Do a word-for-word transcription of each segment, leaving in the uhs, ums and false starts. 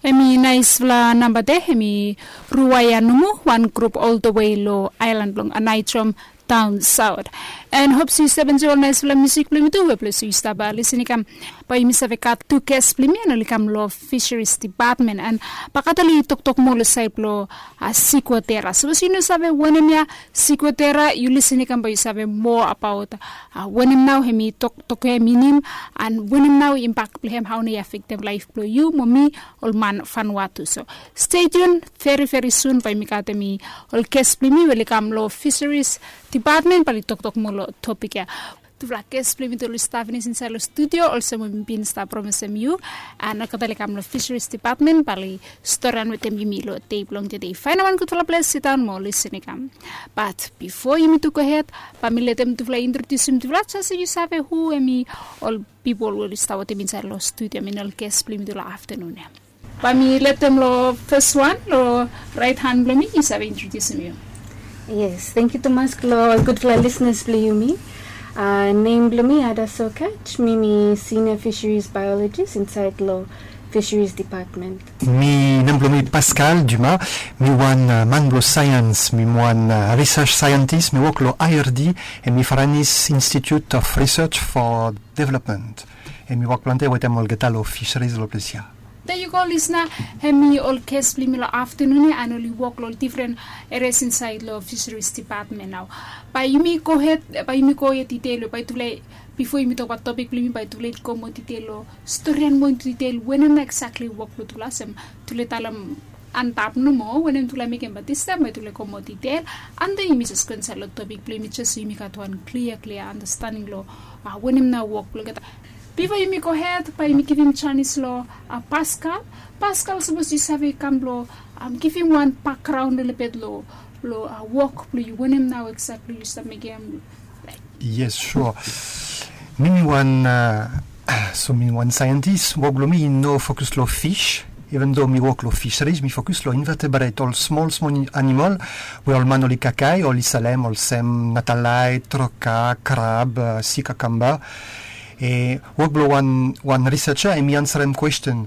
Em i naisfala namba de, em i Ruaia Numu, wan grup oltawe long ailan blong Anaitrom, taon saot. And hop se yu save enjoy ol naisfala musik blong yumi tu, we ples yu stap lisin i kam. Bae yumi save gat tu ges blong yumi, and oli kam long Fisheries Department, and bae gat oli toktok moa long saed blong Siguatera. Sapos yu no save wanem ya Siguatera, yu lisin i kam bae yu save moa abaot wanem nao hem i toktok ya minim, and wanem nao imbak blong hem, hao nao i afektem laef blong yu mo mi, ol man Vanuatu. So stay tuned, veri veri sun bae yumi gat hem i ol ges blong yumi we oli kam long Fisheries Department bae oli toktok moa long topik ya. Tufala ges blong yumi tu oli stap finis insaed long studio, olsem we mi bin stap promesem yu, and olgeta oli kam long Fisheries Department bae oli storian wetem yumi long dei blong tede. Faenem wan gudfala ples, sidaon mo lisin i kam. Bat bifo yumi tu gohed, bae mi letem tufala introdiusim tufala, jes so yu save hu hem i ol pipol we oli stap wetem insaed long studio, I min ol ges blong yumi tu long aftanun ya. Bae mi letem long fes wan long raet han blong mi, yu save introdiusim yu. Yes, tangkiu tumas long ol gudfala lisenas blong yumi. Nem blong mi Ada Sokach, mi mi senior fisheries biologist insaed long Fisheries Department. Mi nem blong mi Pascal Dumas, mi wan man blong saeans, mi wan research scientist, mi wok long I R D, hem i Farani's Institute of Research for Development. Hem i wok plante wetem olgeta long fisheries long ples ya. There you go, listener. Hem i ol ges blong yumi long aftanun ya, and oli wok long ol difren erias insaed long Fisheries Department nao. Bae yumi gohed, bae yumi go ya detail, bae tufala, bifo yumi tokbaot topik blong yumi, bae tufala i go moa detail long storian moa detail wanem nao eksakli wok blong tufala, olsem tufala talem antap nomo wanem tufala mekem, bat distaem bae tufala go moa detail. And then yumi jes go insaed long topik blong yumi jes so yumi gat wan klia klia andastanding long wanem nao wok blong olgeta. Bifo yumi gohed, bae yumi givim janis long Pascal. Pascal, sapos yu save kam blong givim wan bakgraon lelebet long wok blong yu, wanem nao eksakli yu stap mekem? Yes, sure. Mi mi wan, so mi wan saeantis, wok blong mi i no fokus long fis, even though mi wok long fisheries, mi fokus long invertebrate, ol smol smol animal we ol man oli kakae, oli salem, olsem natalaet, troka, krab, sea cucumber. Wok blong wan researcher hem i ansarem kwesten.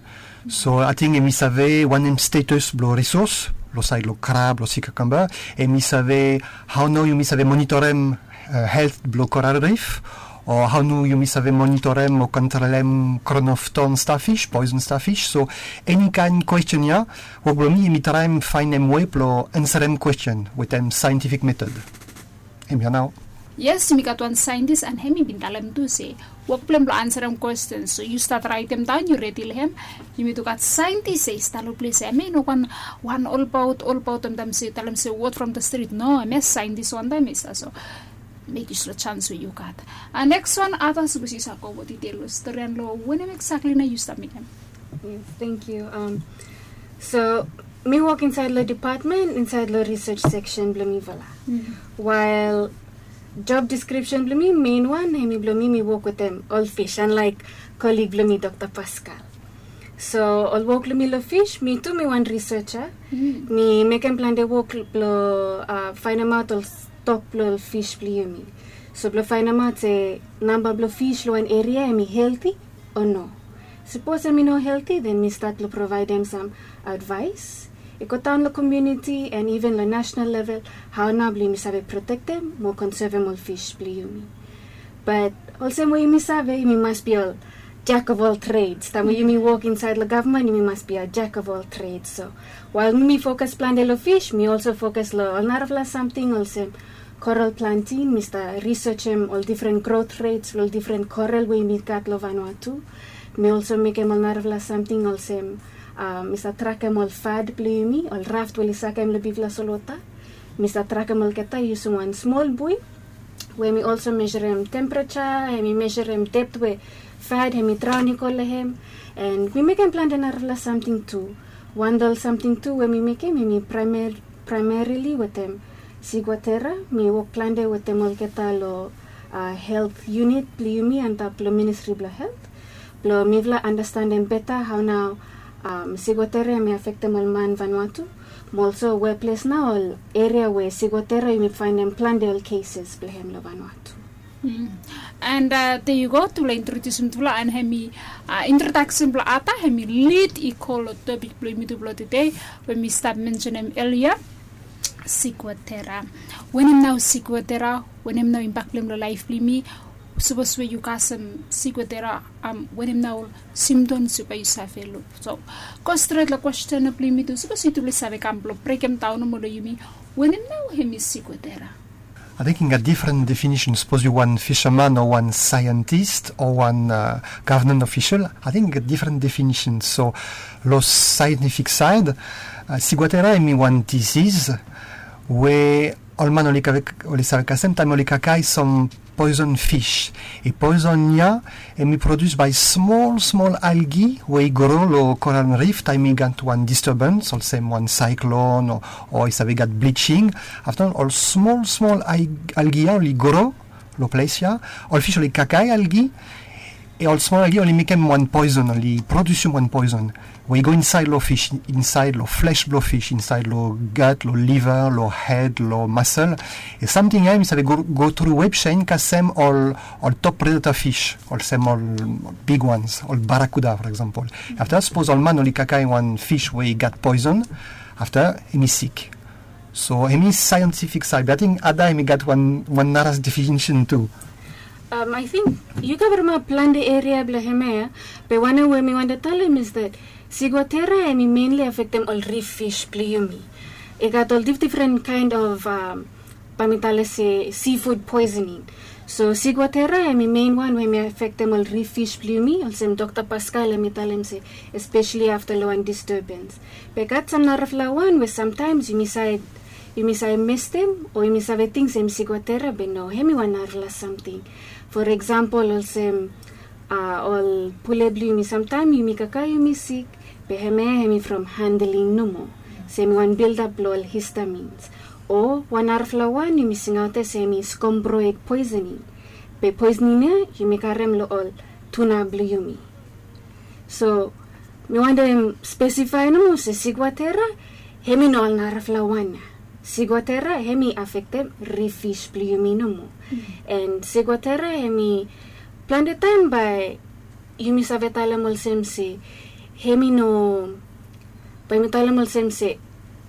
So ating hem i save wanem status blong risos long saed long krab, long sea cucumber, hem i save hao nao yumi save monitorem helt blong coral reef, o hao nao yumi save monitorem o kontrolem crown of thorn starfish, poison starfish. So eni kaen kwesten ya, wok blong mi hem i traem faenem wei blong ansarem kwesten wetem saentifik metod. Hem ya nao. Yes, yumi gat wan saentis, and hem i bin talem tu se wok blong hem blong ansarem kwesten. So yu stat raetem daon, yu redi long hem. Yumi tu gat saentis ya i stap long ples ya, hem i no wan, wan olbaot, olbaot, hem talem se, talem se word from the street. No, hem ya saentis wantaem ya i stap. So mek yu slo janis we yu gat. Neks wan, Ada, sapos yu save go moa detail long storian long wanem eksakli nao yu stap mekem. Yes, tangkiu. So mi wok insaed long department, insaed long research section blong mifala. Wael job description blong mi, mein wan hem i blong mi, mi wok wetem ol fis, unlike colleague blong mi, Dokta Pascal. So ol wok blong mi long fis, mi tu mi wan researcher. Mi mekem plante wok blong faenemaot ol stok blong ol fis blong yumi. So blong faenemaot se namba blong fis long wan eria hem i helti o no. Sapos hem i no helti, then mi stat long provaedem sam advaes i go daon long komuniti and even long nasenal level, hao nao blong yumi save protektem mo konsevem ol fis blong yumi. Bat olsem we yumi save, yumi mas be ol jack of all trades. Taem we yumi wok insaed long gavman, yumi mas be a jack of all trades. So wael mi mi fokus plante long fis, mi olso fokus long ol narafala samting olsem coral planting. Mi stap researchem ol difren growth rates blong ol difren coral we yumi gat long Vanuatu. Mi olso mekem ol narafala samting olsem mi stap trakem ol fad blong yumi, ol raft we oli sakem long bigfala solwota. Mi stap trakem olgeta yusum wan smol bui we mi olso meserem temperature, hem i meserem dept we fad hem i draon i go long hem. And mi mekem plante narafala samting tu. Wan long ol samting tu we mi mekem hem i praemarili wetem Siguatera. Mi wok plante wetem olgeta long helt yunit blong yumi antap long Ministri blong Helt, blong mifala andastandem beta hao nao Siguatera hem i afektem ol man Vanuatu, mo olso weples nao ol eria we Siguatera yumi faenem plante ol keses blong hem long Vanuatu. And uh, there you go, tufala introdusim tufala and hemi uh, introduction blong ata hemi lead i go long topik blong yumi tufala today, we mi stap mentionem earlier. Siguatera. Wenem nao siguatera? Wenem nao imbak blong hem long laif blong yumi? Sapos we yu kasem siguatera, um, wenem nao symptoms we bae yu save luk? So go stret long kwesten blong yumi tu, sapos yu tufala save kam blong brekem daon nomo long yumi, wenem nao hemi siguatera? I think i gat different definition. Sapos yu wan fisherman o wan scientist o wan uh, government official, I think i gat different definition. So long scientific side, uh, siguatera hemi wan disease we ol man oli save kasem taem oli kakae sam poison fish. I poison ya hemi produce by smol smol algae we i gro long coral reef taem i gat wan disturbance olsem wan cyclone o i save gat bleaching. Afta ol smol smol algae ya oli gro long ples ya, ol fish oli kakae algae. Ol smol algae oli mekem wan poison, oli produsim wan poison we i go insaed long fish, insaed long flesh blong fish, insaed long gut, long liver, long head, long muscle. Samting ya hemi save go tru web sen kasem ol top predator fish olsem ol big ones, ol barracuda for example. Afta sapos ol man oli kakae wan fish we i gat poison, afta hemi sik. So hemi scientific side, be ating ada hemi gat wan nara definition tu. Ating yu kavaremap plante eria blong hemia ya. Be wanem we mi wantem talem is that siguatera hemi mainli afektem ol rif fish blong yumi. I gat ol difdifren kaen of bae mi talem se seafood poisoning. So siguatera hemi mein wan we hemi afektem ol rif fish blong yumi, olsem dokta paskal hemi talem se espeseli afta long wan disturbens. Be gat sam narafala wan we samtaems yumi save mestem o yumi save ting se hemi siguatera, be no, hemi wan narafala samting. For example olsem ol pule blong yumi, samtaem yumi kakae yumi sik, be hemia hemi from handling nomo, se hemi wan bildap blong ol histamins. O wan narafala wan yumi singaot ya se hemi skombroid poisoning. Be poisoning ya yumi karem long ol tuna blong yumi. So mi wantem spesifae nomo se siguatera hemi no ol narafala wan ya. Siguatera hemi afektem rif fish blong yumi nomo. And siguatera hemi plante taem bae yumi save talem olsem se hemi no, bae mi talem olsem se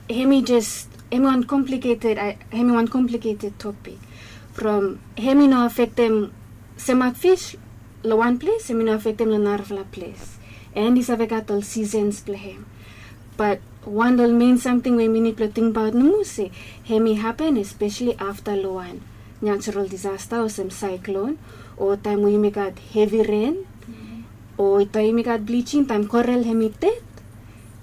hemi jes, hemi wan complicated, hemi wan complicated topik. From hemi no afektem semak fish long wan ples, hemi no afektem long narafala ples. And i save gat ol seasons blong hem. Bat wan ol mein samting we mi nid blong tingbaot nomo se hemi hapen espeseli afta long wan natural disasta olsem saeklon, o taem we yumi gat hevi ren, o taem yumi gat bliching, taem korel hemi ded,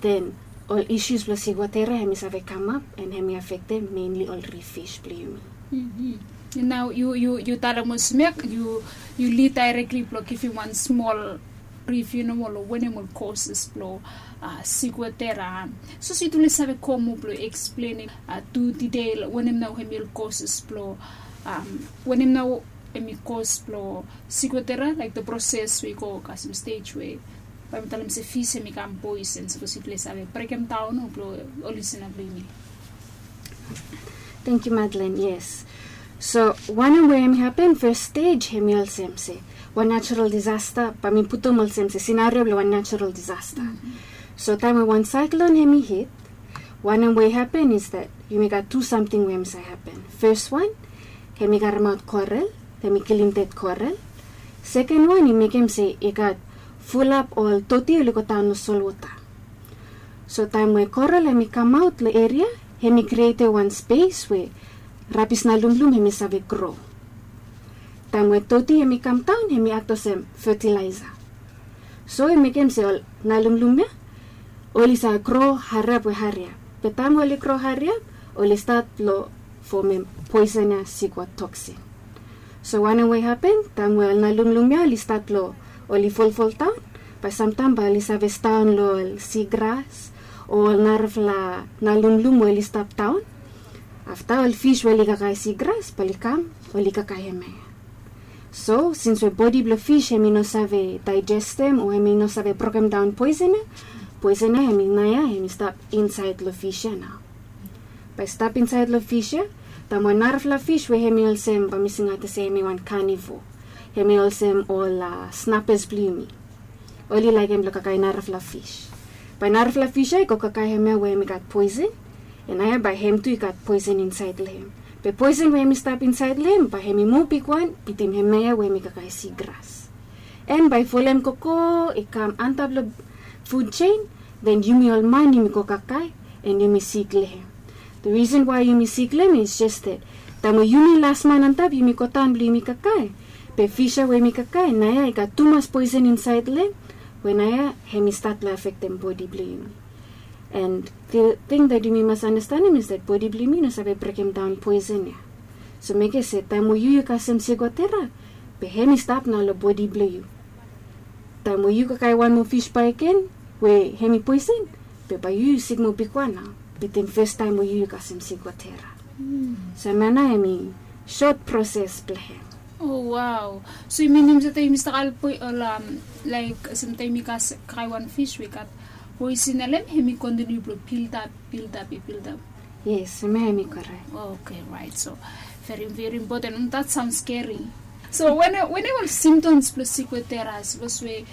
den ol isus blong siguatera hemi save kamap and hemi afektem mainli ol rif fish blong yumi. Nao yu talem olsem ya, yu lid daerekli blong givim wan smol rif yu nomo long wanem ol koses blong siguatera. Sapos yu tufala save go moa blong eksplenem tu detail wanem nao hemi ol koses blong, wanem nao hemi kos blong siguatera, laek the proses we i go kasem stej we bae mi talem se fis hemi kam poison. Sapos yu tufala save brekem daon o blong ol lisina blong yumi. Tangkiu Madlen. Yes. So wanem we hemi hapen, fes stej hemi olsem se wan natural disasta, bae mi putum olsem se sinario blong wan natural disasta. So taem we wan saeklon hemi hit, wanem we i hapen is that yumi gat tu samting we hemi save hapen. Fes wan, hemi karemaot korel, hemi kilim ded korel. Seken wan i mekem se i gat fulap ol doti oli go daon long solwota. So taem we korel hemi kamaot long eria, hemi krietem wan spes we rabis nalumlum hemi save gro. Taem we doti hemi kamdaon, hemi aktem olsem fetilaesa. So i mekem se ol nalumlum ya oli save gro hariap we hariap. Be taem we oli gro hariap, oli stat long fomem poisonia sigua toksin. So wanem we i hapen, taem we ol nalumlum ya oli stat long oli folfoldaon, bae samtaem bae oli save staon long ol sigras o ol narafala nalumlum we oli stap daon. Afta ol fis we oli kakae sigras bae oli kam, oli kakae hemia. So sins we bodi blong fis hemi no save daejestem o hemi no save brokemdaon poisonia, poisonia hemi naoia hemi stap insaed long fis ya nao. Bae i stap insaed long fis ya, Taem we narafala fis we hemi olsem, bae mi singauti se hemi wan carnivore, hemi olsem ol snappers blong yumi, oli laekem blong kakae narafala fis. Bae narafala fis ya i go kakae hemia we hemi gat poesen, and naoia bae hem tu i gat poesen insaed long hem. Be poesen we hemi stap insaed long hem bae hemi moa bigwan bitim hemia ya we hemi kakae sigras. And bae i folem gogo i kam antap long food chain, then yumi ol man yumi go kakae, and yumi sik long hem. The reason why yumi sik long hem is just that taem we yumi las man antap yumi go daon blong yumi kakae, be fis ya we yumi kakae naoia i gat tumas poesen insaed long hem, we naoia hemi stat long afektem bodi blong yumi. And the thing that yumi mas andastanem is that bodi blong yumi i no save brekemdaon poesen ya. So mekem se taem we yu yu kasem sigwatera, be hemi stap nao long bodi blong yu. Taem we yu kakae wan moa fis bakegen we hemi poesen, be bae yu yu sik moa bigwan nao bitim fastaem we yu yu kasem sigwatera. So hemia nao hemi sot proses blong hem. Oh wow. So i minim se taem yumi stap kakae ol, laek olsem taem yumi kakae wan fis we i gat poesen long hem, hemi kontiniu blong bildap, bildap, i bildap. Yes, hemia hemi korek. Okay, right. So very, very important. That sounds scary. So wanem, wanem ol symptoms blong sigwatera? Sapos we,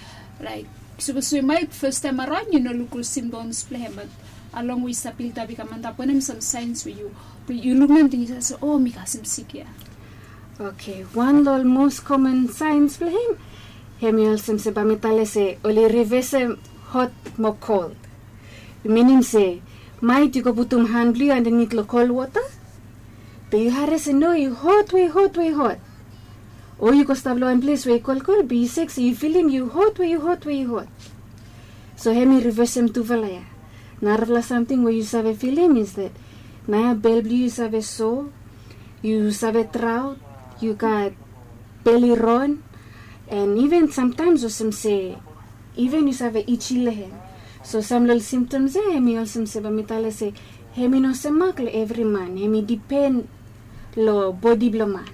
laek, sapos we maet fastaem araon yu no luk ol symptoms blong hem, be along we i stap bildap i kam antap, wanem sam saens we yu, yu luk hem, ting yu save se, o, mi kasem sik ya. Okay, wan long ol most common signs blong hem, hemi olsem se bae mi talem se oli rivesem hot mo kol. Minim se maet yu go putum han blong yu andanit long kol wota, be yu harem se no, yu hot we hot we hot. O yu go stap long wan ples we i kolkol be yu sek se yu filim yu hot we yu hot we yu hot. So hemi rivesem tufala ya. Narafala samting we yu save filim is that naoia bel blong yu i save so, yu save draot, yu gat beli ron, and even samtaem olsem se even yu save itchy long hem. So sam long ol symptoms ya hemi olsem se bae mi talem se hemi no semak long evri man, hemi dipen long bodi blong man.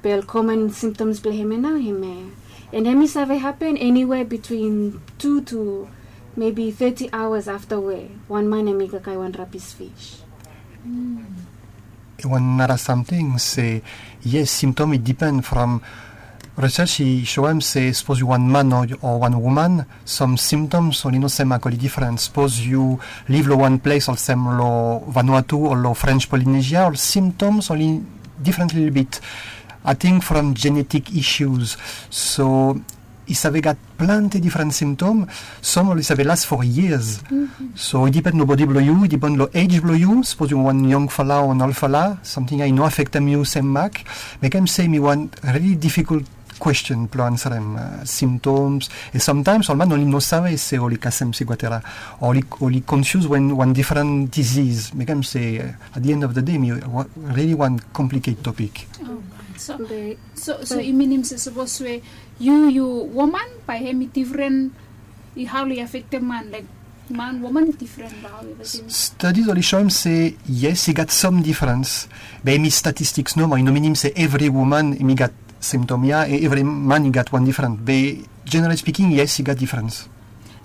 Be ol common symptoms blong hemia nao hemia ya. And hemi save hapen anywhere between two to maybe thirty hours afta we wan man hemi kakae wan rabis fis. Wan nara samting se, yes, symptom i dipen from research i soem se sapos yu wan man o, o wan woman, sam symptoms oli no semak, oli difren. Sapos yu liv long wan ples olsem long Vanuatu o long French Polynesia, ol symptoms oli difren lelebet. Ating from genetic issues. So i save gat plante difren symptom. Sam oli save las for years. So i dipen long bodi blong yu, i dipen long ej blong yu. Sapos yu wan yong fala o wan ol fala, samting ya i no afektem yu semak. Mekem se hemi wan rili difikult kwesten blong ansarem, symptoms. And samtaem ol man oli no save se oli kasem sigwatera, oli, oli confuse wan, wan difren disease. Mekem se at the end of the day hemi rili wan complicated topic. So, so i minim se sapos we yu, yu woman, bae hemi difren, i hao long i afektem man, laek man, woman i difren, bae hao long i afektem? Studies oli soem se yes, i gat sam difrens. Be hemi statistics nomo, i no minim se evri woman hemi gat symptom ya, evri man i gat wan difren. Be generally speaking, yes, i gat difrens.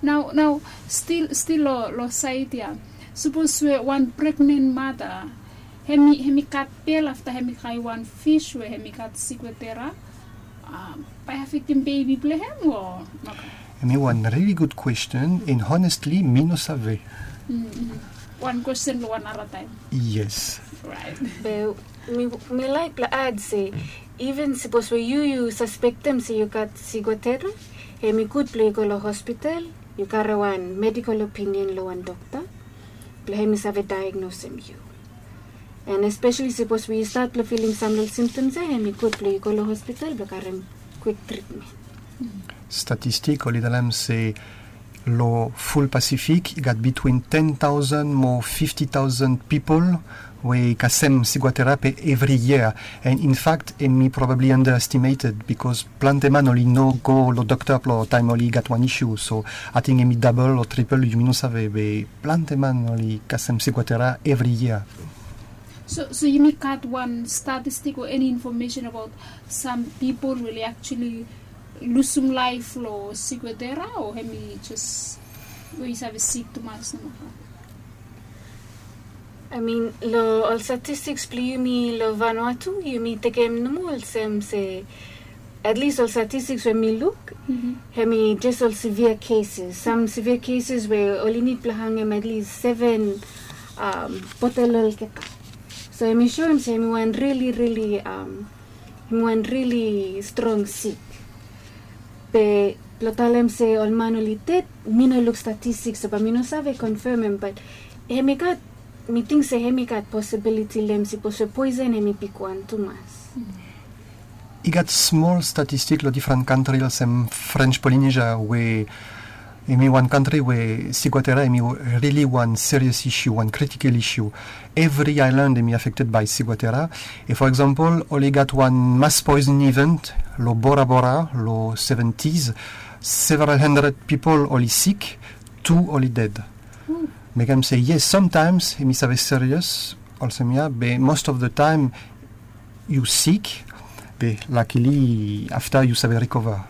Nao, nao, stil, stil long, long saed ya, sapos we wan pregnen mada hemi, hemi gat bel afta hemi kakae wan fis we hemi gat sigwatera, bae afektem bebi blong hem o nogat? Hemi wan rili gud kwesten, and honestly mi no save. Wan kwesten long wan nara taem. Yes. Be mi, mi laek blong ad se, even sapos we yu, yu saspektem se yu gat sigwatera, hemi gud blong yu go long hospital, yu karem wan medical opinion long wan dokta blong hemi save diagnosem yu. And especially sapos we yu stat blong filim sam long ol symptoms ya, hemi gud blong yu go long hospital blong karem kwik tritmen. Statistik oli talem se long ful Pasifik i gat bitwin ten taosen mo fifti taosen pipol we i kasem sigwatera pe evri yia. And in fact hemi probably underestimated, bikos plante man oli no go long dokta blong taem oli gat wan issue. So ating hemi dabol o tripol, yumi no save, be plante man oli kasem sigwatera evri yia. So, so yumi gat wan statistik o eni infomesen abaot sam pipol we oli actually lusum laef long sigwatera, o hemi jes we i save sik tumas nomo? I mean, lo ol statistics blong yumi lo Vanuatu, yumi tekem nomo olsem se, at least ol statistics we mi luk, hemi jes ol severe cases. Sam severe cases we oli nid blong hangem at least seven um, botel olgeta. So hemi soem se hemi wan rili, rili, um, hemi wan rili strong sik. Be blong talem se ol man oli ded, mi no luk statistics, so bae mi no save confirmem, but hemi gat, mi ting se hemi gat possibility long hem, sipos we poison hemi bigwan tumas. I gat smol statistik lo difren kantri olsem French Polynesia we hemi wan kantri we ciguatera hemi rili wan serious issue, wan critical issue. Evri island hemi affected by ciguatera. If, for example, oli gat wan mass poison event lo Bora Bora lo seventies, several hundred people oli sik, tu oli ded. Mekem se yes, sometimes hemi save serious olsem ia, be most of the time yu sik, be luckily afta yu save recover.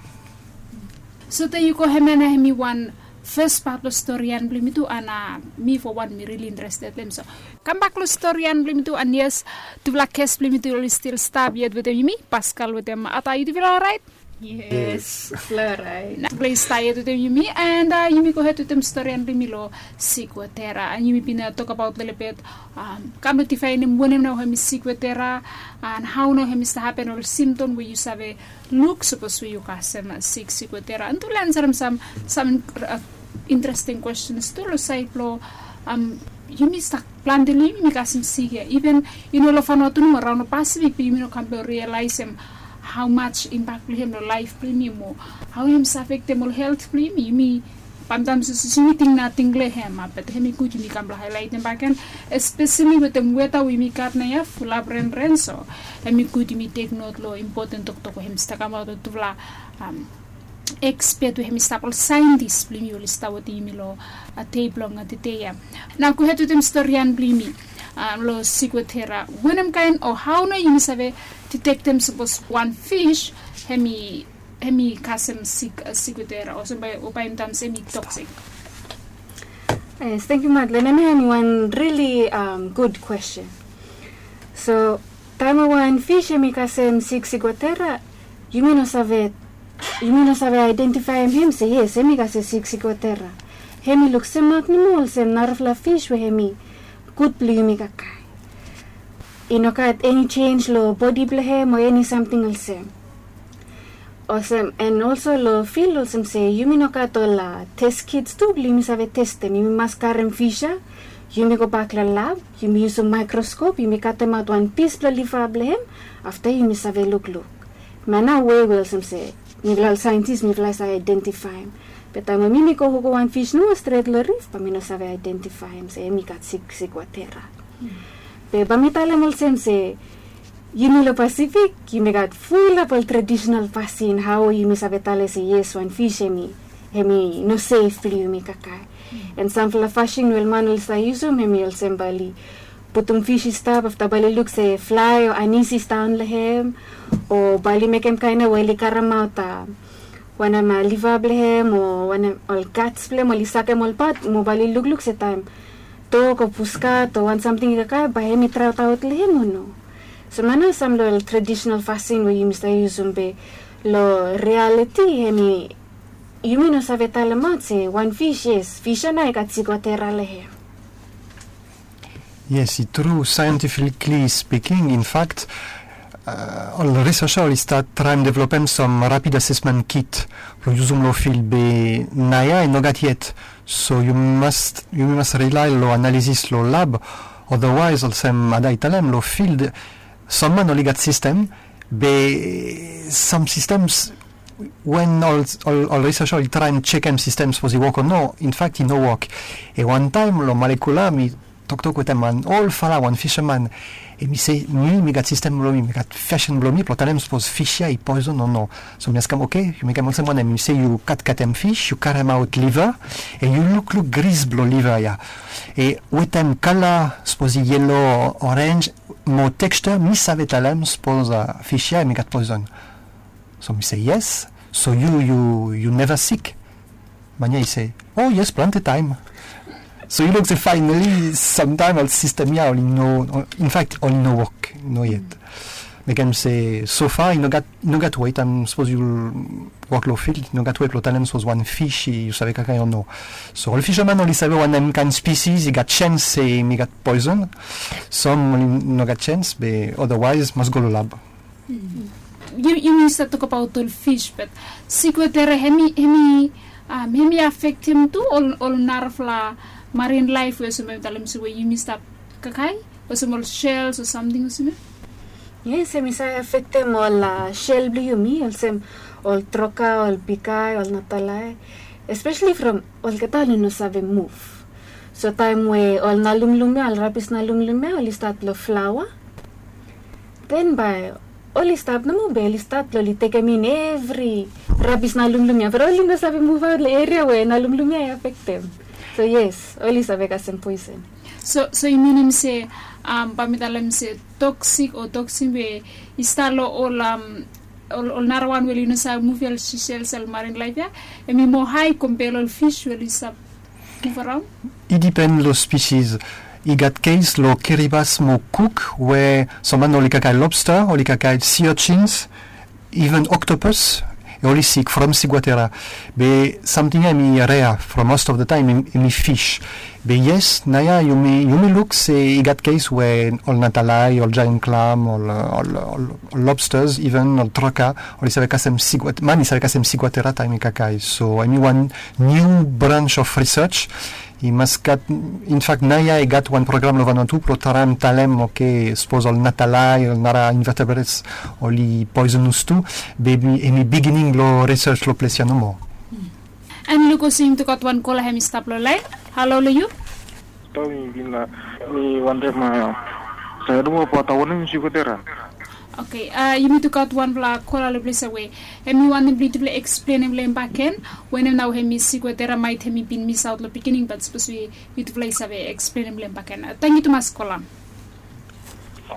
Sote yu go hemia na hemi wan fes pat lo storian blong yumi tu, and mi fo wan mi rili interested long hem. So kambak lo storian blong yumi tu, and yes, tufala ges blong yumi tu oli stil stap yet wetem yumi, Pascal wetem Ata. Yutufala oraet? Yes, flo oraet. Nao tufala i stap yet wetem yumi, and yumi gohed wetem storian blong yumi lo ciguatera, and yumi bin tokbaot lelebet kam lo difaenem wanem nao hemi ciguatera, and hao nao hemi stap hapen, ol symptom we yu save luk sapos we yu kasem sik ciguatera. And tufala i ansarem sam sam interesting questions tu lo saed blo yumi stap plante lo yumi mi kasem sik ia. Even i no lo Vanuatu nomo, raon lo Pasifik be yumi no kam blo rialaesem hao maj impak blo hem lo laef blo yumi mo hao hem save afektem ol helt blo yumi. Yumi bamtam sapos yumi ting nating lo hem, be hemi gud yumi kam blo haelaetem bakegen, espeseli wetem weta we yumi gat naoia, fulap renren. So hemi gud yumi tek not lo impoten toktok we hem stap kamaot lo tufala ekspet we hemi stap, ol saentis blo yumi oli stap wetem yumi lo dei blong tede ia. Nao gohed wetem storian blo yumi lo ciguatera. Wanem kaen o hao nao yumi save ditektem sapos wan fis hemi hemi kasem sik ciguatera olsem bae, o bae yumi talem se hemi toksik? Yes, thank you, Madeline. Hemia hemi wan rili gud kwesten. So taem we wan fis hemi kasem sik ciguatera, yumi no save, yumi no save aedentifaem hem se yes, hemi kasem sik ciguatera. Hemi luk semak nomo olsem narafala fis we hemi gud blo yumi kakae. I no gat eni jenis lo bodi blo hem o eni samting olsem. Olsem, and also lo fil olsem se yumi no gat ol test kits tu blo yumi save testem. Yumi mas karem fis ia, yumi gobak lo lab, yumi yusum maekroskop, yumi katemaot wan pis blo liva blo hem, afta yumi save lukluk. Hemia nao wei we olsem se mifala ol saentis mifala save aedentifaem. Be taem we mi mi go hugo wan fis nomo stret lo rif, bae mi no save aedentifaem se hemi gat sik ciguatera. Be bae mi talem olsem se yumi lo Pasifik yumi gat fulap ol tradisonal fasin hao yumi save talem se yes, wan fis hemi, hemi no sef blo yumi kakae. And samfala fasin we ol man oli save yusum hemi olsem bae oli putum fis i stap, afta bae oli luk se flae o anis i stap daon lo hem, o bae oli mekem kaen ia we oli karemaot wanem, liva blo hem o wanem, ol gats blo hem, oli sakem ol pat, mo bae oli lukluk se taem dog o puskat o wan samting i kakae, bae hemi traotaot lo hem o no. So hemia nao sam lo ol tradisonal fasin we yumi save yusum, be lo rialiti hemi, yumi no save talemaot se wan fis, yes, fis ia nao i gat ciguatera lo hem. Yes, i tru, scientifically speaking, in fact, ol risesa oli stat traem developem sam rapid assessment kit blo yusum lo fil, be naoia i no gat yet. So yumi mas, yumi mas rilae lo analisis lo lab. Otherwise, olsem Ada i talem, lo field sam man oli gat sistem, be sam sistems, wen ol, ol, ol risesa oli traem jekem sistem sapos i wok o no, in fact i no wok. E wan taem lo Malekula mi toktok wetem wan olfala, wan fisaman. Hemi se mi, mi gat sistem blo mi, mi gat fasin blo mi blo talem sapos fis ia i poizon o no. So mi askem, oke, yu mekem olsem wanem? Hemi se yu katkatem fis, yu karemaot liva, e yu lukluk gris blo liva ia. E wetem kala, sapos i yelo, orenj, mo tekstia, mi save talem sapos fis ia hemi gat poizon. So mi se yes. So yu, yu, yu neva sik? Man ia i se, o yes, plante taem. So yu luk se faenali samtaem ol sistem ya oli no, in fact oli no wok, no yet. Mekem se so fa i no gat, i no gat wei taem sapos yu wok long fil, i no gat wei blong talem sapos wan fis yu save kakae o no. So ol fisaman oli save wanem kaen spesis i gat sens se i gat poison. Sam oli no gat sens be otherwise mas go long lab. Yumi stap tokabaot ol fis, bat sik wotara hemi, hemi afektem tu ol narafala marin laef we olsem mi talem olsem we yumi stap kakae, olsem ol sels o samting olsem ya. Yes, hemi save afektem ol sel blong yumi olsem ol troka, ol bikae, ol natalae, espeseli from olgeta oli no save muv. So taem we ol nalumlum ya, ol rabis nalumlum ya oli stat long flaoa, den bae oli stap nomo be oli stat blong oli tekem in evri rabis nalumlum ya, be oli no save muvaot long eria we nalumlum ya i afektem. So yes, oli save kasem poison. So, so i minim se, bae mi talem se toksik o toksin we i stap long ol, ol narawan we oli no save muv ya, ol sisel, ol marin laef ya, hemi moa hae kompea long ol fis we oli stap muv araon? I dipen long spesis. I gat kes long Kiribati mo Cook we sam man oli kakae lobster, oli kakae sea urchins, even octopus, oli sik from sik wotara. Be samting ya hemi rea from most of the time hemi fis. Be yes, naoia yumi, yumi luk se i gat kes we ol natalae, ol giant clam, ol, ol lobsters, even ol troka, oli save kasem sik wot-, man i save kasem sik wotara taem i kakae. So hemi wan niu branch of research. I mas gat, in fact naoia i gat wan program long Vanuatu blong traem talem, oke, sapos ol natalae, ol nara invertebrates oli poisonous tu, be hemi bigining blong research long ples ya nomo. An luk olsem yumi tu gat wan kola hemi stap long laen. Halo long yu. Tau mi bin la, mi wantem, a, sae nomo abaot wanem sik wotara. Oke, a, yumi tu gat wanfala kola long ples ya we hemi wantem blong yutufala eksplenem long hem bakegen wanem nao hemi sik wotara, maet hemi bin misaot long bigining, bat sapos we yutufala i save eksplenem long hem bakegen. A, tangkiu tumas kola.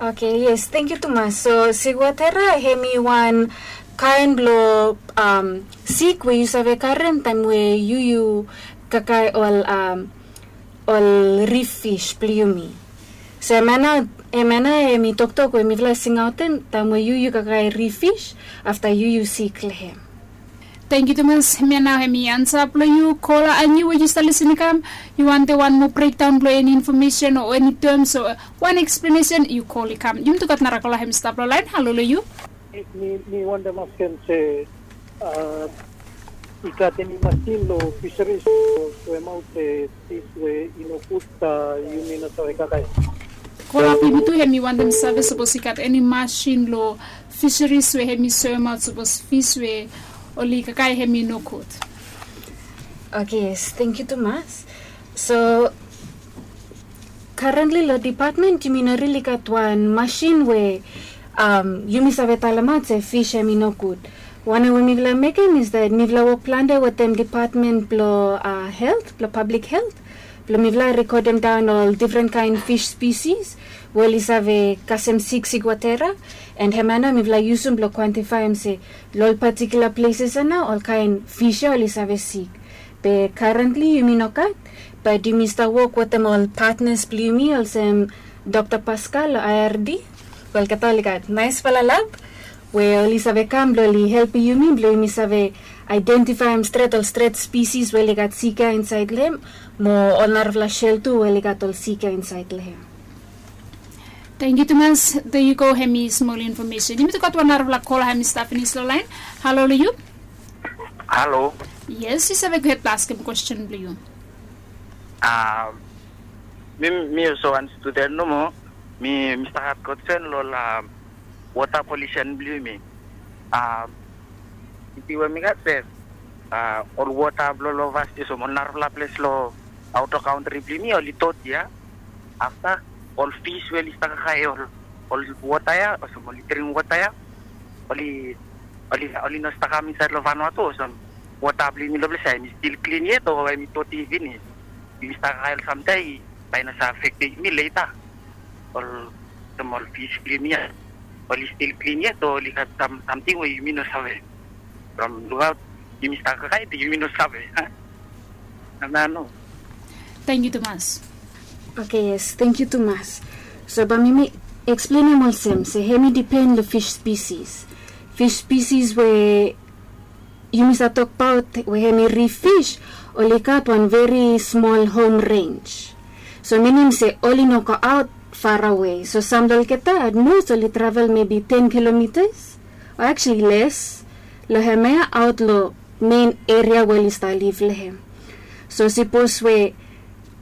Oke, yes, tangkiu tumas. So sik wotara hemi wan kaen blong sik we yu save karem taem we yu, yu kakae ol, ol rif fis blong yumi. So hemia nao, hemia nao hemi toktok we mifala singaotem taem we yu, yu kakae rif fis afta yu, yu sik long hem. Tangkiu tumas. Hemia nao hemi ansa blong yu. Kola, an yu we yu stap lisin i kam, yu wantem wan moa brekdaon blong eni infomesen o eni tems o wan eksplenesen, yu kol i kam. Yumi tu gat nara kola hemi stap long laen. Halo long yu. Mi, mi wantem askem se, a, i gat eni masin long fisaris blong soemaot se fis we i nogud, a, yumi no save kakae. Kola blong yumi tu hemi wantem save sapos i gat eni masin long fisaris we hemi soemaot sapos fis we oli kakae hemi nogud. Oke, yes, tangkiu tumas. So karentli long dipatmen yumi no rili gat wan masin we yumi save talemaot se fis hemi nogud. Wanem we mifala mekem is that mifala wok plante wetem dipatmen blong, a, helt, blong pablik helt, blong mifala rekodem daon ol difren kaen fis spesis we oli save kasem sik, sik wotara, an hemia nao mifala yusum blong kwentifaem se long ol patikula pleses ya nao ol kaen fis ya oli save sik. Be karentli yumi no gat, bat yumi stap wok wetem ol patnas blong yumi olsem Dokta Pascal long I R D. Olgeta oli gat naesfala lab we oli save kam blong oli helpem yumi blong yumi save aedentifaem stret ol stret spesis we oli gat sik ya insaed long hem, mo ol narafala sel tu we oli gat ol sik ya insaed long hem. Tangkiu tumas. There you go, hemi smol infomesen. Yumi tu gat wan narafala kola hemi stap finis long laen. Halo long yu. Halo. Yes, yu save gohed blong askem kwesten blong yu. A, mi, mi olsem wan studen nomo, mi, mi stap gat kwesten long, a, wota polisen blong yumi. A, isi we mi gat se, a, ol wota blong long ovastes o ol narafala ples long aota kantri blong yumi oli doti ya. Afta ol fis we oli stap kakae ol, ol wota ya, olsem oli dring wota ya, oli, oli, oli no stap kam insaed long Vanuatu, olsem wota blong yumi long ples ya hemi stil klin yet o hemi doti finis? Yumi stap kakae ol samtaem bae i no save afektem yumi leta. Ol, olsem ol fis blong yumi ya, oli stil klin yet o oli gat sam, samting we yumi no save? From lukaot yumi stap kakae be yumi no save, a? Nano. Tangkiu tumas. Oke, yes, tangkiu tumas. So bae mi mi eksplenem olsem se hemi dipen long fish spesis. Fish spesis we yumi save tokbaot we hemi rif fish, oli gat wan veri smol hom renj. So minim se oli no goaot farawe. So sam long olgeta at most oli travel mebi ten kilomitas, o actually les, long hemia aot long mein eria we oli stap liv long hem. So sipos we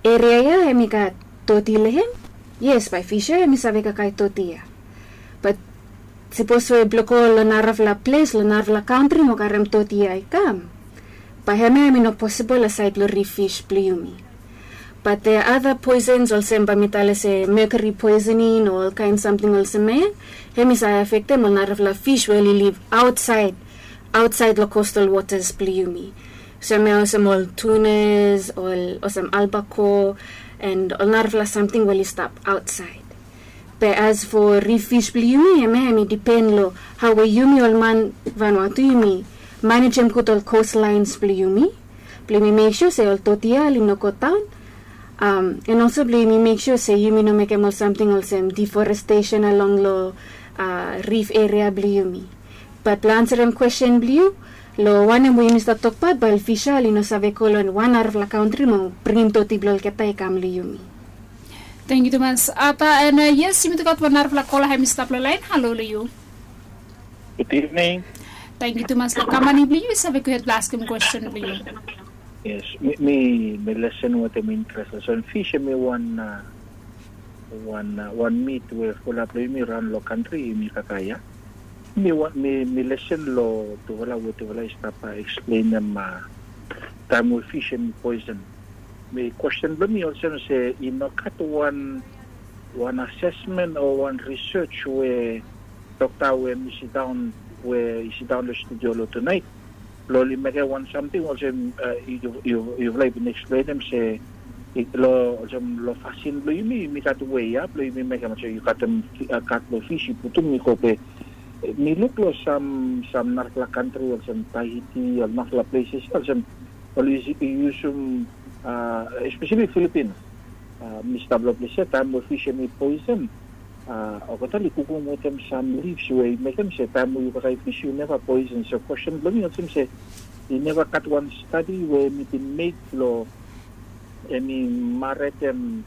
eria ya hemi gat doti long hem, yes, bae fish ya hemi save kakae doti ya. Bat sipos we blong go long narafala ples, long narafala kantri mo karem doti ya i kam, bae hemia hemi no posibol long saed blong rif fish blong yumi. Bat there are other poisons olsem bae mi talem se mercury poisoning o olkaen samting olsem ya, hemi save afektem ol narafala fish we oli liv aotsaed, aotsaed long coastal waters blong yumi. Olsem ya olsem ol tunas, ol olsem albacore, and ol narafala samting we oli stap aotsaed. Be as for rif fish blong yumi, hemia hemi dipen long hao we yumi ol man Vanuatu yumi manejem gud ol coastlines blong yumi, blong yumi mek sua se ol doti ya oli no godaon. Um, and also blong yumi mek sua se yumi no mekem ol samting olsem deforestation along long, uh, rif eria blong yumi. Bat blong ansarem kwesten blong yu, long wanem we yumi stap tokbaot bae ol fish ya oli no save go long wan narafala kantri mo bringim doti blong olgeta i kam long yumi. Tangkiu tumas Ata, and, uh, yes, yumi tu gat wan narafala kola hemi stap long laen. Halo long yu. Good evening. Tangkiu tumas long kam blong yu, yu save gohed blong askem kwesten blong yu. Yes, mi, mi, mi lesen wetem interes. So fish hemi wan, uh, wan, uh, wan mit we fulap long yumi raon long kantri yumi kakae ya. Mi wan, mi, mi lesen long tufala we tufala i stap, uh, eksplenem, uh, taem we fish hemi poison. Mi kwesten blong mi olsem se i no gat wan, wan asesmen o wan risej we dokta we mi sidaon, we i sidaon long studio long tunaet, blong oli mekem wan samting olsem, uh, yu, yu, yufala i bin eksplenem se i, long olsem long fasin blong yumi, yumi gat wei ya blong yumi mekem olsem yu gat, um, uh, gat long fish yu putum i go be. Mi luk long sam, sam narafala kantri olsem Tahiti, ol narafala places olsem oli yusum, uh, especially Philippines. Uh, mi stap long ples ya, taem we fish hemi poison, uh, olgeta oli kukum wetem sam leaves we i mekem se taem we yu kakae fish yu neva poison. So kwesten blong mi olsem se i neva gat wan stadi we hemi bin mek blong hemi maretem,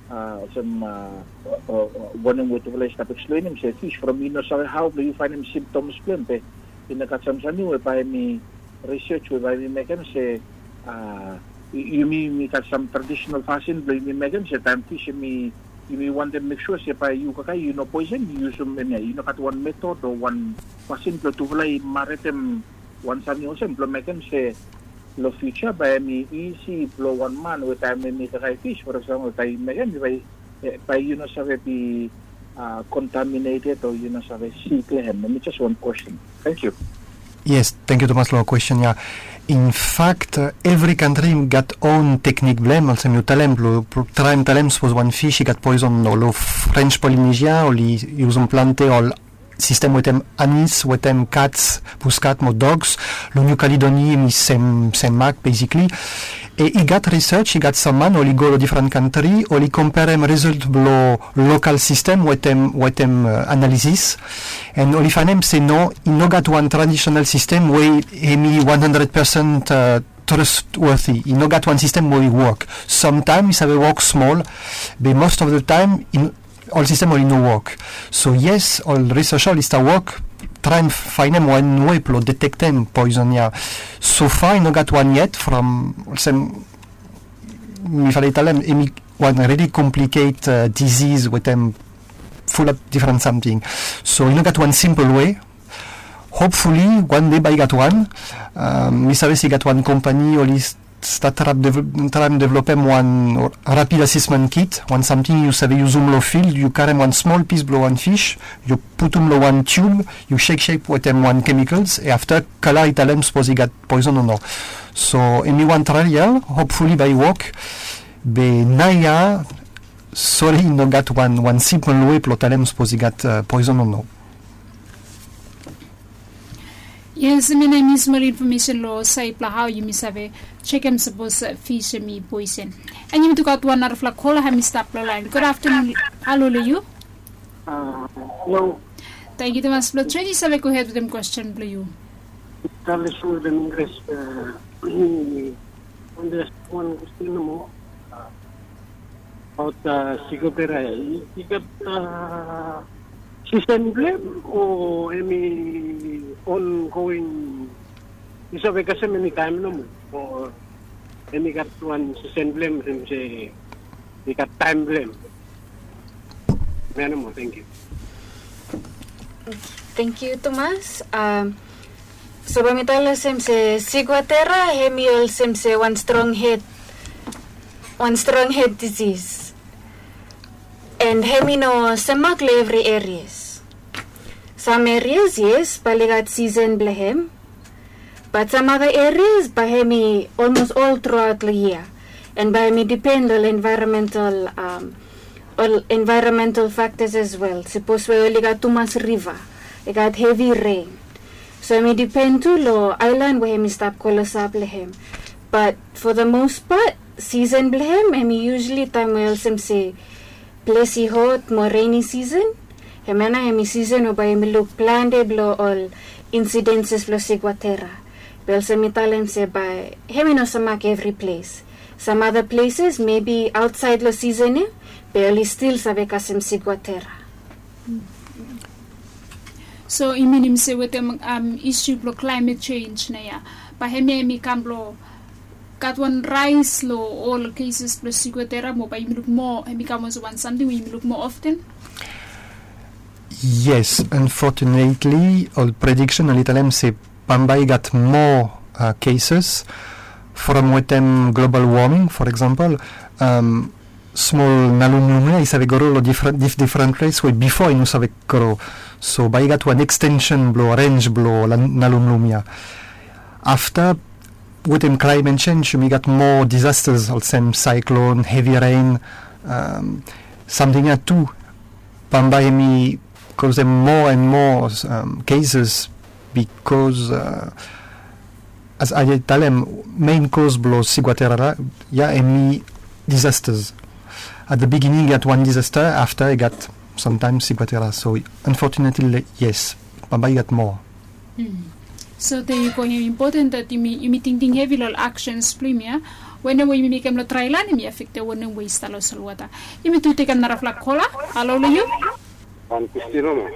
uh, olsem, uh, uh, uh, wanem we tufala i stap eksplenem se fish from i no save hao blong yu faenem symptoms blong hem, be i no gat sam samting we bae hemi risej we bae yumi mekem se, uh, yu, yumi, yumi gat sam traditional fasin blong yumi mekem se taem fish hemi, yumi wantem mek sua se bae yu kakae yu no poison, yu yusum hemia. Yu no gat wan metod o wan fasin blong tufala i maretem wan samting olsem blong mekem se long fiuja bae hemi isi blong wan man we taem hemi kakae fish, for example, taem i mekem bae, eh, bae yu no save be, uh, contaminated o yu no save sik long hem. Hemi jes wan kwesten. Tangkiu. Yes, tangkiu tumas long kwesten ya. In fact, uh, evri kantri i gat own teknik blong hem. Olsem yu talem, blong traem talem sipos wan fish i gat poison o long French Polynesia oli yusum plante ol sistem wetem anis, wetem cats, puskat mo dogs long New Caledonia, hemi sem, sem mak basically. E i gat risej, i gat sam man oli go long difren kantri, oli komperem rizolt blong lokal sistem wetem, wetem, uh, analisis. And oli faenem se no, i no gat wan traditional sistem we hemi one hundred percent, uh, trustworthy. I no gat wan sistem we i wok. Samtaem i save wok smol, be most of the time i, ol sistem oli no wok. So yes, ol risej oli stap wok traem faenem wan wei blong detektem poison ya. So far i no gat wan yet from, olsem mi fala i talem, hemi wan really complicated, uh, disease wetem fulap difren samting. So i no gat wan simpol wei. Hopefully wan dei bae i gat wan. Um, mi save se i gat wan kompani oli stap traem developem wan rapid assessment kit, wan samting yu save yusum long field, yu karem wan smol pis blong wan fish, yu putum long wan tiub, yu seksekem wetem wan chemicals, e afta kala i talem sipos i gat poison o no. So hemi wan trial, hopefully bae i wok. Be naoia, sori, i no gat wan, wan simpol wei blong talem sipos i gat, uh, poison o no. Yes, mi na mi smol infomesen long sait blong hao yumi save sekem sapos fis em i poisen. And yumi tu gat wan narafala kola hem i stap long lain. Gud aftanun. Halo long yu. Halo. Tangkiu tumas blong join, yu save gohed wetem kwesten blong yu. Tale sum wetem Inglis. Wan wan kwesten nomo. Abaot sigotera ya, i gat sisen blong hem o hem i ongoing? I save kasem eni taem nomo o hem i gat wan sisen blong hem, hem se i gat taem blong hem? Hemia nomo. Tangkiu. Tangkiu tumas. So bae mi talem olsem se sigwatera hem i olsem se wan strong hed, wan strong hed disis. And hem i no semak long evri erias. Sam erias yes bae oli gat sisen blong hem. Bat sam ada erias bae hem i olmos ol truaot long yia. And bae hem i dipen long envaeronmental, ol envaeronmental faktas as wel. Sapos we oli gat tumas riva, i gat hevi ren. So hem i dipen tu long aelan we hem i stap klosap long hem. Bat fo the most part sisen blong hem hem i yusali taem we olsem se ples i hot mo reni sisen. Hemia nao hem i sisen we bae yumi luk plante blong ol insidenses blong sigwatera. Be olsem mi talem se bae hem i no semak evri ples. Sam ada pleses mebi aotsaed long sisen ya be oli stil save kasem sigwatera. So i minim se wetem isu blong klaemet sens nao ya, bae hemia hem i kam blong gat wan raes long ol keses blong sigwatera mo bae yumi luk moa, hem i kam olsem wan samting we yumi luk moa often? Yes, unfortunately ol prediksen oli talem se bambae i gat moa keses from wetem global woming. For eksempel, smol nalumlum ya i save gro long difdifren ples we bifo i no save gro. So bae i gat wan ekstensen blong renj blong nalumlum ya. Afta wetem klaemet sens yumi gat moa disastas olsem saeklon, hevi ren, samting ya tu bambae hem i kosem moa and moa keses. Bikos as ae talem, mein kos blong sigwatera ya hem i disastas. At the beginning i gat wan disasta, afta i gat samtaem sigwatera. So unfortunately yes, bambae i gat moa. So thank yu. Hem i impoten dat yumi tingting hevi long ol aksens blong yumi ya. Wanem we yumi mekem long draelan hem i afektem wanem we i stap long solwota. Yumi tu tekem narafala kola. Halo long yu. Wan kwesten nomo.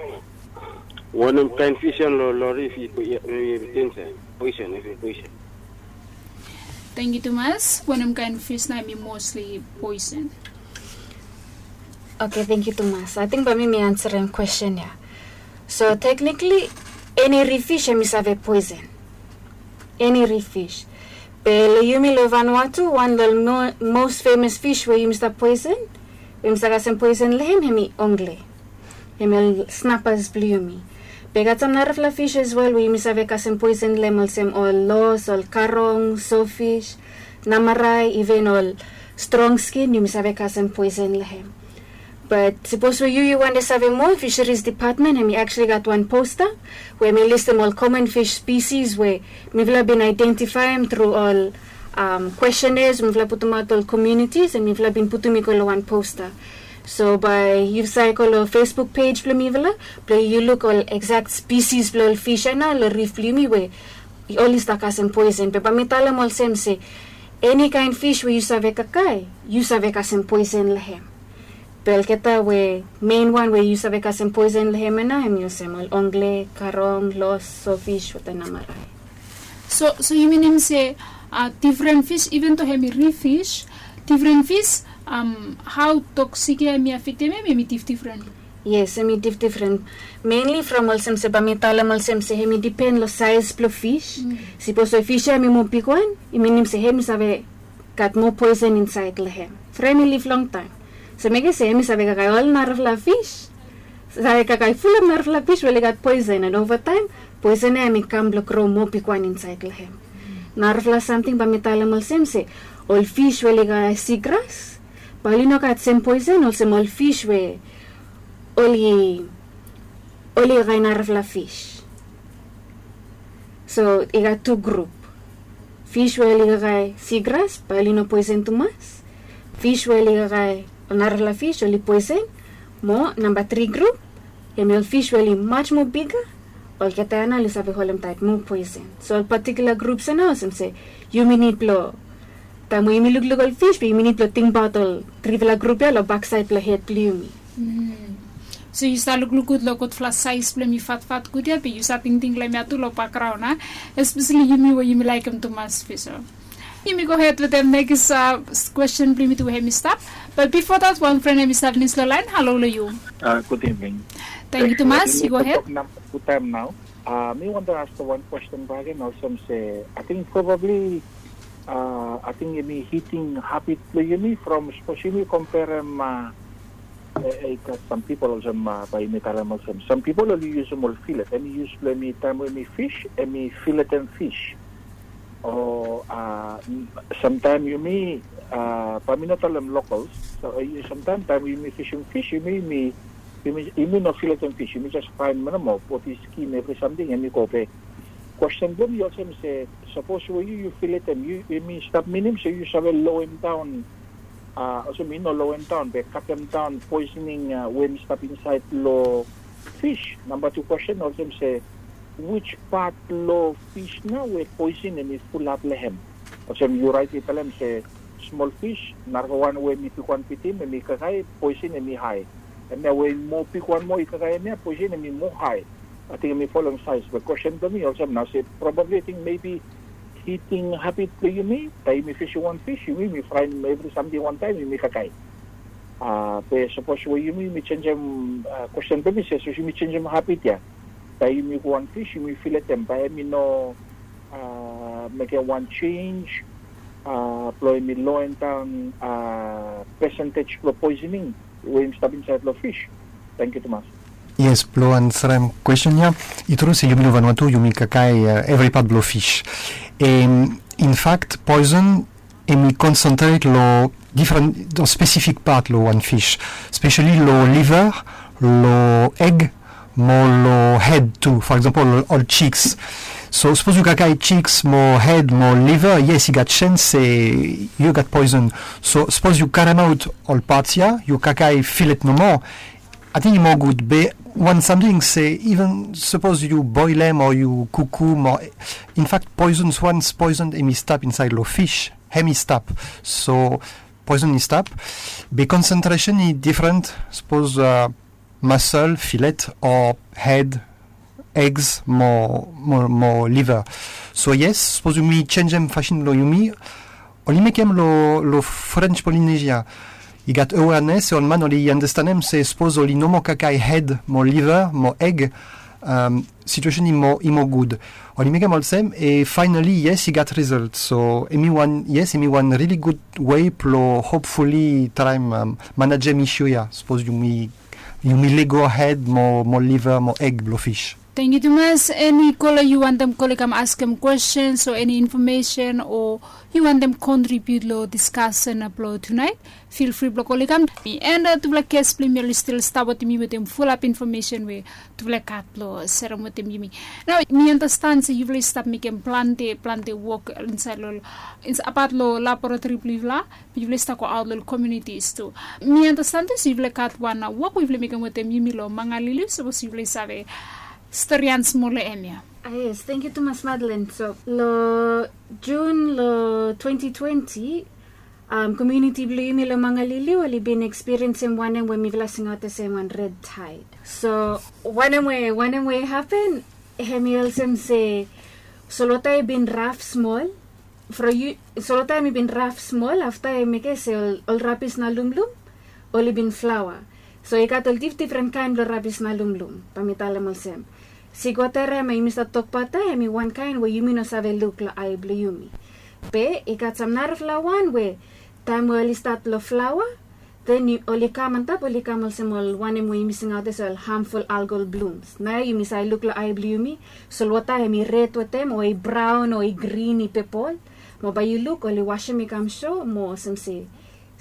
Wanem kaen fis ya long rif i poisen? Poisen, poisen. Tangkiu tumas. Wanem kaen fis nao hem i mosli poisen? Oke, tangkiu tumas. Ating bae mi mi ansarem kwesten ya. So teknikli eni rif fis hem i save poisen. Eni rif fis. Be long yumi long Vanuatu wan long ol mos femas fis we yumi stap poisen, we yumi stap kasem poisen long hem hem i ongle. Hem i ol snapas blong yumi. Be i gat sam narafala fis as wel we yumi save kasem poisen long hem olsem ol los, ol karong, sofis, namarae, iven ol strong skin yumi save kasem poisen long hem. Bat sapos we yu yu wantem save moa, Fisheries Department hem i actually gat wan posta we hem i listem ol common fish species we mifala bin aedentifaem tru ol questionnaires we mifala putumaot long ol communities and mifala bin putum i go long wan posta. So bae yu save go long Facebook page blong mifala blong yu luk ol exact species blong ol fish ya nao long rif blong yumi we oli stap kasem poisen. Be bae mi talem olsem se eni kaen fish we yu save kakae, yu save kasem poisen long hem. Be olgeta we mein wan we yu save kasem poisen long hem ya nao hem i olsem ol ongle, karong, los, sofis wetem namarae. So so yu minim se difren fis, iven do hem i rif fis, difren fis, hao toksik ya hem i afektem hem, hem i difdifren? Yes, hem i difdifren. Menli from olsem se bae mi talem olsem se hem i dipen long saes blong fis. Sapos we fis ya hem i moa bigwan, i minim se hem i save gat moa poisen insaed long hem from hem i liv longtaem. So mekem se hem i save kakae ol narafala fis, save kakae fulap narafala fis we oli gat poisen, and ova taem poisen ya hem i kam blong gro moa bigwan insaed long hem. Narafala samting bae mi talem olsem se ol fis we oli kakae sigras bae oli no gat sem poisen olsem ol fis we oli oli kakae narafala fis. So i gat tu grup. Fis we oli kakae sigras bae oli no poesen tumas. Fis we oli kakae ol narafala fis oli poesen. Mo namba tri grup, hemi ol fis we oli maj moa biga, olgeta ya nao oli save holem taet moa poesen. So ol patikula grups ya nao olsem se yumi nid blong, taem we yumi lukluk ol fis be yumi nid blong tingbaot ol trifala grup ya long baksaed blong hed blong yumi. So yu sa lukluk gud long gudfala saes blong hem i fatfat gud ya be yu sa tingting long hem ya tu long bakgraon a, espeseli yumi we yumi laekem tumas fis. Yumi gohed wetem nekis kwesten blong yumi tu we hem i stap. Bat bifo dat wan fren hem i stap nis long laen. Halo long yu. Gud evening. Tangkiu tumas. Yu gohed. Gud taem nao. Mi wantem askem wan kwesten bak agen olsem se ating probabli ating yumi hiting habit blong yumi from sapos yumi komperem, i gat sam pipol olsem bae yumi talem olsem sam pipol oli yusum ol filet, hemi yus blong hemi taem we hemi fis hemi filetem fis. O samtaem yumi, bae mi no talem lokals, samtaem taem yumi fisim fis yumi yumi no filetem fis, yumi jes faenem nomo, poti skin evri samting hemi go be. Kwesten blong mi olsem se sapos we yu yu filetem, hemi stap minim se yu save loem daon, olsem i no loem daon be katem daon poesening we hemi stap insaed long fis. Namba tu kwesten olsem se wij pat long fis nao we poesen hemi fulap long hem? Olsem yu raet i talem se smol fis, narafala wan we hemi bigwan fitim hemi kakae, poesen hemi hae. Hemia we moa bigwan moa i kakae hemia, poesen hemi moa hae. Ating hemi folem saes. Be kwesten blong mi olsem nao se probabli ating mebi hiting habit blong yumi, taem yumi fisim wan fis yumi yumi fraenem evri samting wantaem yumi kakae. Be sapos we yumi yumi jenjem, kwesten blong mi se sapos yumi jenjem habit ya, taem yumi go wan fis yumi filetem bae hemi no mekem wan jenj blong hemi loem daon pesentej blong poesening we hemi stap insaed long fis. Tangkiu tumas. Yes, blong ansarem kwesten ya, i tru se yumi long Vanuatu yumi kakae evri pat blong fis. Em, infakt poesen hemi konsentret long difren, long spesifik pat long wan fis, speseli long liver, long eg, mo long hed tu, for eksampol ol chiks. So sapos yu kakae chiks mo hed mo liver, yes, i gat jens se yu gat poesen. So sapos yu karemaot ol pats ya, yu kakae filet nomo, ating i moa gud. Be wan samting se iven sapos yu boelem o yu kukum o, infakt poesen, wans poesen hemi stap insaed long fis, hemi stap. So poesen i stap, be konsentresen i difren, sapos musel, filet, o hed, egs mo, mo, mo liver. So yes, sapos yumi jenjem fasin blong yumi, oli mekem long, long French Polynesia. I gat awareness, ol man oli andastanem se sapos oli no moa kakae hed mo liver mo eg, situasen i moa, i moa gud. Oli mekem olsem, e finally yes, i gat result. So hemi wan, yes, hemi wan really gud wei blong hopefully traem manajem issue ya, sapos yumi, yumi lego hed mo, mo liver mo eg blong fis. Tangkiu tumas. Eni kola yu wantem kol i kam askem kwestens o eni infomesen o yu wantem kontribiut long diskasen blong tunaet, fil fri blong kol i kam. Mi and tufala ges blong yumi oli stil stap wetem yumi wetem fulap infomesen we tufala i gat blong serem wetem yumi. Nao mi andastan se yufala i stap mekem plante plante wok insaed long, apat long laboratori blong yufala, be yufala i stap goaot long ol komunitis tu. Mi andastan tu se yufala i gat wan wok we yufala i mekem wetem yumi long Mangaliliu, sapos yufala i save stori han smol long hem ya. Yes, tangkiu tumas Madeleine. So long Jun long twenti twenti, komuniti blong yumi long Mangaliliu oli bin ekspiriensim wanem we mifala singaot olsem wan red taed. So wanem we, wanem we i hapen, hemi olsem se solwota i bin raf smol. From yu, solwota hemi bin raf smol, afta i mekem se ol, ol rabis na lumlum oli bin flaoa. So i gat ol difdifren kaen blong rabis na lumlum, bae mi talem olsem. Sikwater ya, hemi stap tok bata, hemi wan kaen we yumi no save luk long ae blong yumi. Be i gat sam narafala wan we taem we oli stat long flaoa, den oli kam antap, oli kam olsem ol wanem we yumi singaot olsem ol harmful algal blooms. Naoia yumi save luk long ae blong yumi, solwota hemi red wetem o i braon o i grin, i pepol. Mo bae yu luk oli wasem i kam so mo olsem se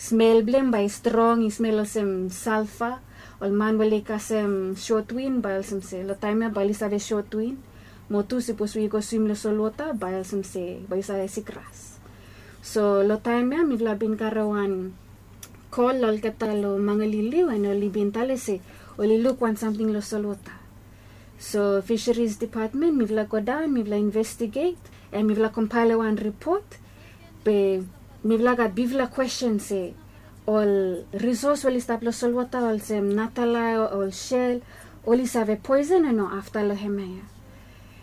smel blong hem bae i strong, i smel olsem salfa. Ol man we oli kasem sotwin bae olsem se long taem ya bae oli save sotwin. Mo tu sipos we yu go swim long solwota bae olsem se bae yu save sikras. So long taem ya mifala bin karem wan kol long olgeta long Mangaliliu and oli bin talem se oli luk wan samting long solwota. So Fisheries Department mifala godaon, mifala investiget, and mifala kompael wan ripot. Be mifala gat bigfala kwesten se ol risos we oli stap long solwota olsem natalai, ol shel, oli save poison o no afta long hemia ya.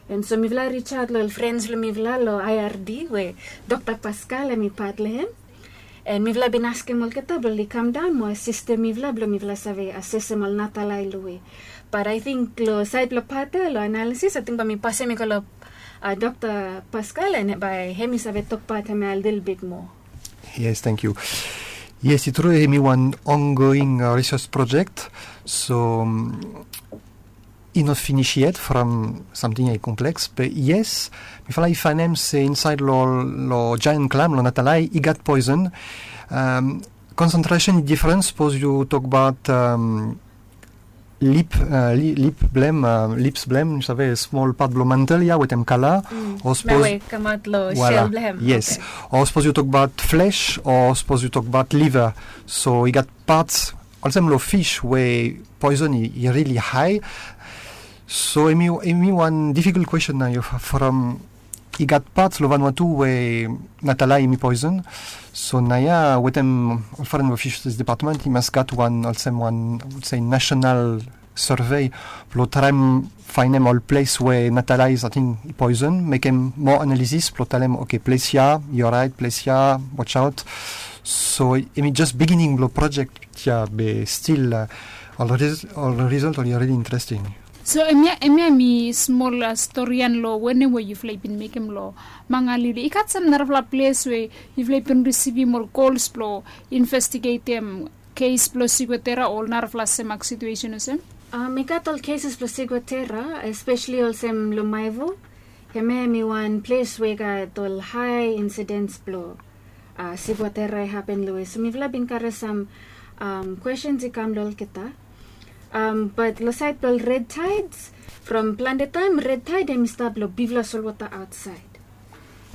And so mifala risaot long ol frens blong mifala long I R D we Dokta Pascal hemi pat long hem. And mifala bin askem olgeta blong oli kamdaon mo asistem mifala blong mifala save asesem ol natalai long we. But I think long saed blong pat ya long analisis, I think bae mi pasem i go long Dokta Pascal and bae hemi save tokbaot hemia lelebet moa. Yes, thank you. Yes, i tru hemi wan ongoing research project. So i no finis yet from samting ya i kompleks, be yes, mifala i faenem se insaed long giant clam, long natalai, i gat poison. Concentration i difren sapos yu tokbaot lip, lip blong hem, lips blong hem, yu save, smol pat blong mantel ya wetem kala. O sapos, yes, o sapos yu tokbaot flesh o sapos yu tokbaot liver. So i gat pats olsem long fis we poison i rili hae. So hemi wan difikult kwesten naoia from i gat pats long Vanuatu we natalai hemi poison. So naoia wetem ol fren blong Fisheries Department i mas gat wan olsem wan, I would say, national survey blong traem faenem ol ples we natalai i sating i poison, mekem moa analisis blong talem, okay, ples ya i oraet, ples ya watch out. So hemi jes bigining blong project ya, be stil ol result oli rili interesting. So hemia, hemia hemi smol storian long wanem we yufala i bin mekem long Mangaliliu. I gat sam narafala ples we yufala i bin risivim ol kols blong investigetem kes blong sikuetera o ol narafala semak situesen olsem? I gat ol keses blong sikuetera, espeseli olsem long Maivo. Hemia hemi wan ples we i gat ol hae insidens blong sikuetera i hapen long we. So mifala bin karem sam kwestens i kam long olgeta. Bat long saed blong ol red tides, from plante taem red tide hemi stap long bigfala solwota aotsaed.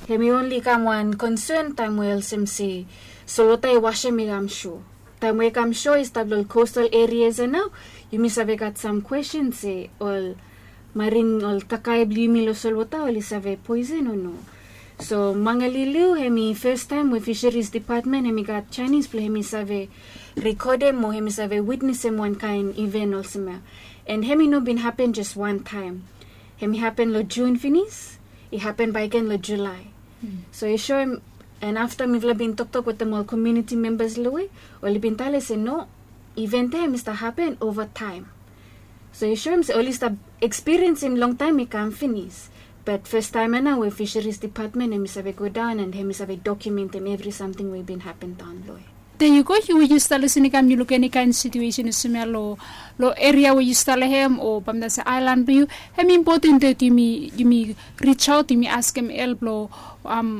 Hemi onli kam wan konsen taem we olsem se solwota i wasem i kam so. Taem we i kam so i stap long ol kostal erias ya nao, yumi save gat sam kwestin se ol marin, ol kakae blong yumi long solwota oli save poesen o no. So Mangaliliu hemi fastaem we Fisheries Department hemi gat janis blong hemi save rikodem o hemi save witnesem wan kaen iven olsem ya. And hemi no bin hapen jes wan taem. Hemi hapen long Jun finis, i hapen bae gen long Julae. So i soem, and afta mifala bin toktok wetem ol komuniti membas long we, oli bin talem se no, iven ya hemi stap hapen ova taem. So i soem se oli stap ekspiriensim longtaem i kam finis. Bat fastaem ya nao we Fisheries Department hemi save godaon and hemi save dokumentem evri samting we i bin hapen daon long we. Te yu go, yu we yu stap lisin i kam, yu luk eni kaen situesen olsem ya long, long eria we yu stap long hem o bae mi talem se aelan blong yu, hemi impoten dat yumi, yumi risaot, yumi askem help long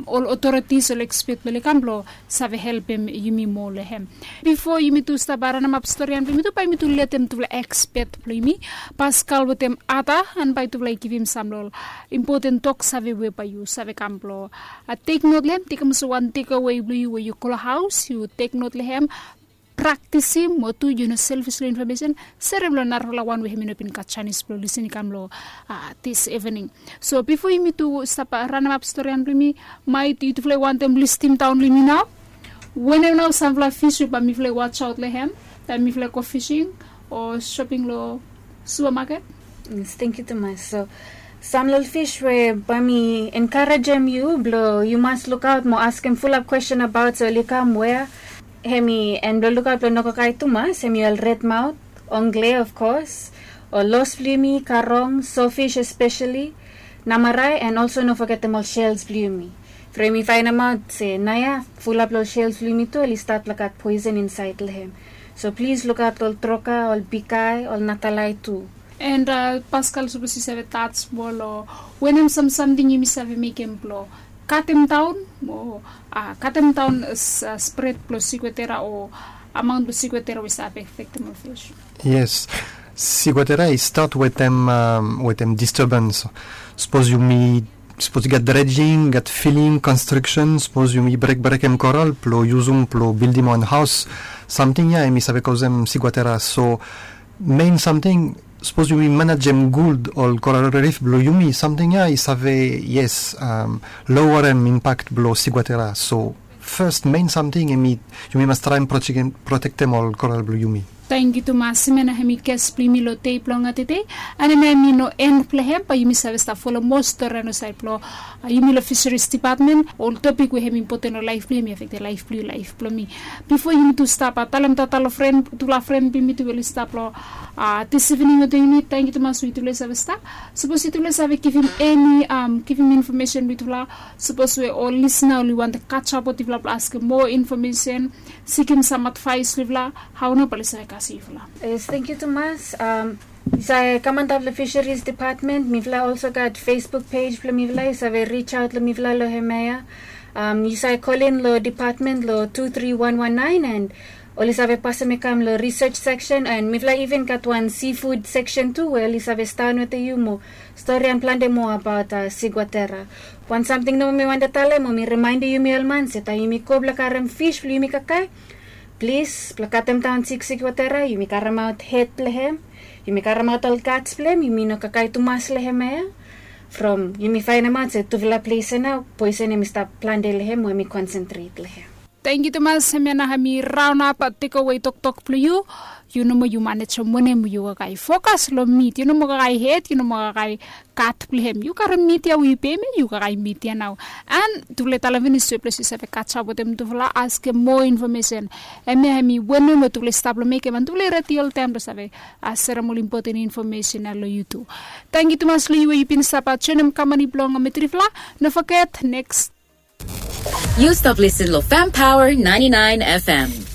ol otoritis, ol ekspet blong oli kam blong save helpem yumi moa long hem. Bifo yumi tu stap ranemap storian blong yumi tu, bae yumi tu letem tufala ekspet blong yumi, Pascal wetem Ada, and bae tufala i givim sam long ol impoten toksave we bae yu save kam blong teknot long hem, tekem olsem wan tekewe blong yu we yu go long haos, yu teknot long hem, praktisim, mo tu yu no selfis long infomesen, serem long narafala wan we hemi no bin gat janis blong lisin i kam long dis evening. So bifo yumi tu stap ranemap storian blong yumi, maet yutufala i wantem listim daon long yumi nao wanem nao samfala fis we bae mifala i wasaot long hem taem mifala i go fising o soping long supamaket? Yes, tenkyu tumas. So sam long ol fis we bae mi enkarejem yu blong yu mas lukaot mo askem fulap kwesten abaot se oli kam wea. Hemi, and blong lukaot blong no kakae tumas, hemi ol redmaot, ongle of course, ol los blong yumi, karong, sofis espeseli, namarae, and olso no fogetem ol sels blong yumi. From yumi faenemaot se naoia fulap long ol sels blong yumi tu oli stat long gat poesen insaed long hem. So plis lukaot ol troka, ol bikae, ol natalai tu. And Pascal, sapos yu save tas smol long wanem sam samting yumi save mekem blong katem daon o katem daon spred blong sikuetera o amaon blong sikuetera we i save afektem ol fis. Yes. Siguatera i stat wetem wetem disturbans. Sapos yumi sapos i gat dredjing gat filing konstriksen sapos yumi brekbrekem koral blo yusum blo bildim wan haos, samting ya em i save kosem siguatera so, mein samting sapos yumi manajem gud ol koral rif blo yumi samting ya i save yes, lowarem impakt blo siguatera so, fes mein samting em i yumi mas traem protektem ol koral blo yumi. Tangkiu tumas. Hemia nao hem i kes blong yumi long dei blong tede. An hemia hem i no en blong hem bae yumi save stap folem moa stori anasaed blong yumi long fiseris depatmen. Ol topik we hem i impoten long laef blong yumi afektem laef blong yu laef blong mi. Bifo yumi tu stap talem tata long fren tufala fren blong yumi tu we oli stap long dis ivening wetem yumi. Tangkiu tumas we yutufala i save stap. Sapos yutufala i save givim eni givim infomesen long yutufala, sapos we ol lisna oli wantem kajap wetem yufala blong askem moa infomesen, sikim sam advaes long yufala, hao nao bae oli save kasem yufala? Yes, tangkiu tumas. Yu save kam antap long fiseris depatmen. Mifala olso gat facebook pej blong mifala yu save rijsaot long mifala long hemia ya. Yu save kolin long depatmen long tu tri wan wan naen an oli save pasem i kam long risej seksen an mifala iven gat wan sifud seksen tu we oli save staon wetem yu mo storian plante moa abaot siguatera. Wan samting nomo mi wantem talem mo mi rimaendem yumi ol man se taem yumi go blong karem fis blong yumi kakae, plis blong katemdaon siksik watera yumi karemaot hed blong hem, yumi karemaot ol gats blong hem yumi no kakae tumas long hem ya. From yumi faenemaot se tufala ples ya nao poesen hem i stap plante long hem we hem i konsentret long hem. Tangkiu tumas. Hemia nao hem i raon ap tekowe toktok blong yu. Yu no moa yu manejem wanem yu kakae fokas long mit yu no moa kakae hed yu no moa kakae gat blong hem yu karem mit ya we yu pem ya yu kakae mit ya nao. An tufala i talem finis we ples yu save kajap wetem tufala askem moa infomesen. Hemia hem i wanem we tufala i stap long mekem an tufala i redi oltaem blong save serem ol impoten infomesen ya long yu tu. Tangkiu tumas long yu we yu bin stap joenem kamani blong mitrifala. No foget neks. Yu stap lisin long fam paoa naenty nine fm.